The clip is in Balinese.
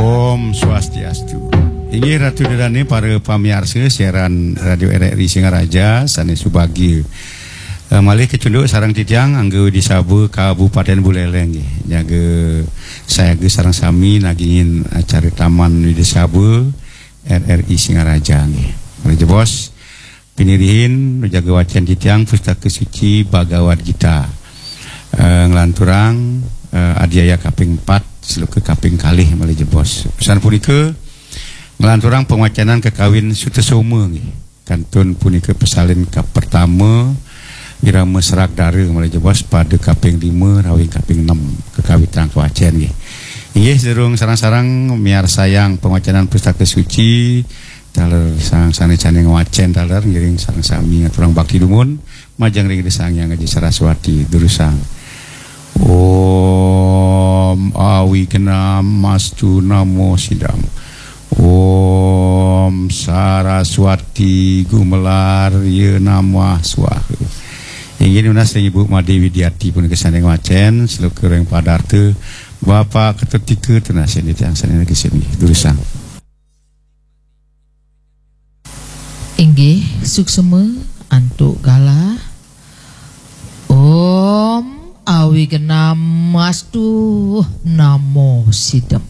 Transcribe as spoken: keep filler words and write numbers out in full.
Om Swastiastu. Inggih Ratu Ida Dané, para pamiarsa siaran Radio R R I Singaraja sané subagia. Eh, malih kecunduk sareng titiang Angga Widisaba Kabupatén Buléléh nggih. Nyaga sayaga sareng sami nagingin acara Taman Widisaba R R I Singaraja nggih. Malih jebos, pinirihin nuju wacén titiang Pustaka Suci Bhagawad Gita. Eh, nglanturang eh, adhyaya kaping empat, sloka kaping kalih malih jebos. Pisan punika nglanturang pangwacénan kakawin Sutasoma nggih. Kantun punika pasalin kapertama, irama Sragdara malih jebos, pada kaping lima rawing kaping enam kakawitang kawacén nggih. Inggih, sadurung sareng-sareng miarsayang pangwacénan Pustaka Suci, taler sang sané-sané ngwacén taler ngiring sareng sami ngaturang bakti dumun majeng ring Ida Sang Hyang Aji Saraswati durusang. Om Awighnamastu namo sidam. Om Saraswati Gumelar ya namah swaha. Inggih nunas ring Ibu Madé Widiati punika sané ngwacén sloka ring padarta. Bapak Ketut Tika tunasin titiang sané nagingin durusang. Inggih, suksma antuk galah. Om Awighnamastu namo sidam.